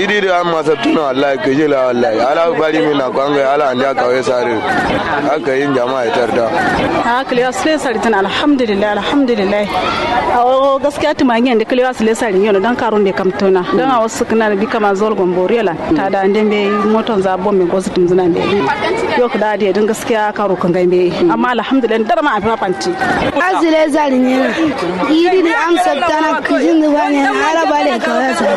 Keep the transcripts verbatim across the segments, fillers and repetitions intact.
Idi dǝ amma sabtǝna wallahi kǝjila wallahi ala bari min na kwangai ala andiya kawai sari. Aka yin jama'a ya tarda. A kǝlewa sǝlai sari tǝna alhamdulillahi alhamdulillahi. Awo gaskiya tǝma ngiyan dǝ kǝlewa sǝlai sari ngiyan dǝ dan karun dǝ kamtǝna dan awo sǝkǝna dǝ bika ma zol gomboriyo lan. Tada ande mbeyi moton za bom me gosu tǝmzǝna mbeyi. Yo kǝda dǝ ye dǝn gaskiya karo kǝngai mbeyi amma alhamdulillahi darma afima fanti. Asile sari nyena. Idi dǝ am sabtana kǝjin dǝ bane ala bale kawai sari.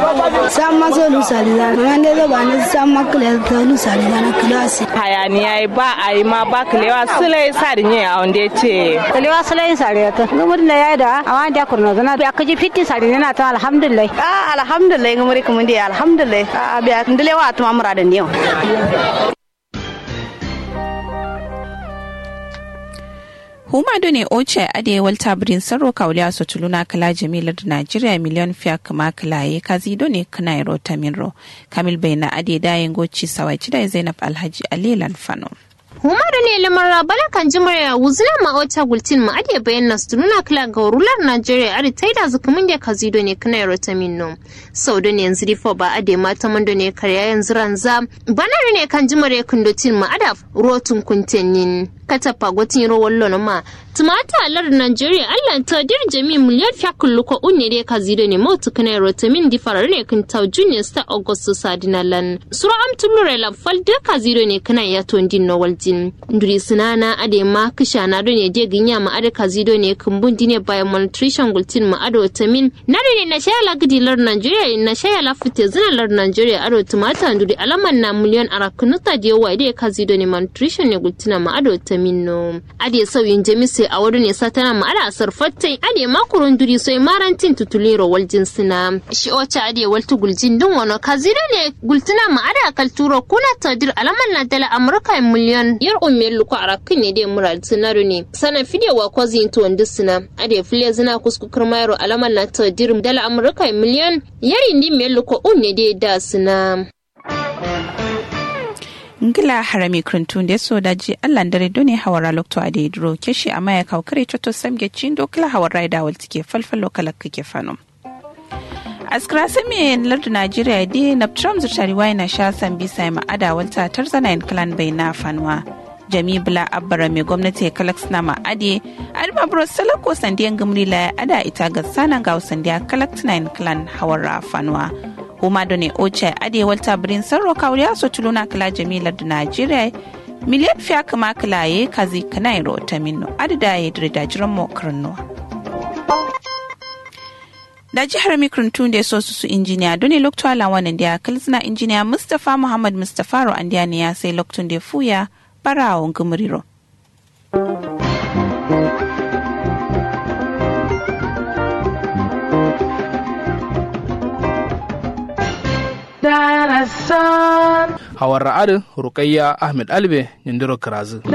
Samma so lusalizana mande so bane samma kǝle so lusalizana kǝlasi. Hayaniya ye ba ayi ma ba kǝlewa sǝlai sari nye awonde ce. Kǝlewa sǝlai sari yata ngǝmuri nda yayi da awa nda kurnozǝna biya kǝji fitti sari nyena ta alhamdulillahi. A alhamdulillahi ngǝmuri kǝmǝndi alhamdulillahi. A biya ndǝlewa atǝma muradan neo. Huma done ocha adǝ ye walta bǝrin sarro kawuliya so tuluna kǝla jami lardǝ najeriya miliyon fiya kǝma kǝla ye kazi done kǝna yero taminro. Kamil baina adǝ ye daye ngoci sawai cida ye zainab alhaji ali ye lan fano. Huma done lamar rabala kanji mare ya wuzuna ma ocha gultin ma adǝ ye bayan nasu tuluna kǝla gauru lar najeriya adǝ taida zǝ kǝmǝnde kazi done kǝna yero taminno. Sau done yanzu difo ba adǝ ye ma taman done karya yanzu ranza. Bana done kanji mare kǝndo tin ma adǝ rotun kuntenin. Katappa gotin ro wallo no ma. Tǝmata lardǝ najeriya allan tadir jami miliyon fiya kǝlluko unne dǝ ye kazi done mautu kǝna yero tamin difara done kǝntau junne sǝta ogosto sadina lan suro am tullure lan fal dǝ kazi done kǝna yato ndin no waljin. Nduri sǝnana adǝ ye ma kǝshana done dǝ ye gǝnya ma adǝ kazi done kǝmbun dine bayan malnutrition gultin ma adǝ tamin. Na done nashaya la gǝdi lardǝ najeriya ye nashaya la fǝtezǝna lardǝ najeriya adǝ tǝmata nduri alaman na miliyon arakkǝ nutta dǝ ye wayi dǝ ye kazi done malnutrition ne gultina ma adǝ tamin no. Adǝ ye sauyin jami sai awo done satana ma adǝ asar fattai adǝ ye ma kuru nduri soi marantin tutulin ro waljin sǝna. Shi ocha adǝ ye waltu guljin dǝn wano kazi done gultǝna ma adǝ akalturo kuna tadir alaman na dala amurka ye miliyon yar umme luko arakkǝ ne dǝ ye muradǝ sǝna done sana fide wa kozi yin tuwon dǝ sǝna. Adǝ ye fǝlezǝna kusku kǝrma yero alaman na tadir dala amurka ye miliyon yar indi me luko unne dǝ ye da sǝna. Ngla harami kǝrǝntu nde so daji allah ndare done hawara lokto adǝ ye duro keshi amma ya kawu kare cotto samge cindo kǝla hawara ye da waltǝ ke falfallo kalakkǝ ke fano. Askǝra samiye lardǝ najeriya ye dǝ ye naptǝram zǝrtari wayi nasha sambisa ye ma adǝ awalta tarzana yen kǝlan baina fanuwa. Jami bǝla abbara me gomnati ye kalaksǝna ma adǝ ye adǝ ma buro salakko sandiye ngǝmri la ye adǝ a ita gassana ngawo sandiya kalaktǝna yen kǝlan hawarra fanuwa. Huma done ocha ye adǝ ye walta bǝrin sarro kawuriya so tuluna kǝla jami lardǝ najeriya ye miliyon fiya kǝma kǝla ye kazi kǝna yero taminno adǝ da ye dǝre dajiran mo kǝrǝnnuwa. Daji harami kǝrǝntu nde so susu injiniya done lokto ala wanan diya kǝlzǝna injiniya mustapha muhammad mustapha ro andiya ne ya sai lokto nde fuya bara awo ngǝmǝri ro. Hawarra adǝ rukayya ahmed albe nindiro kǝrazǝ.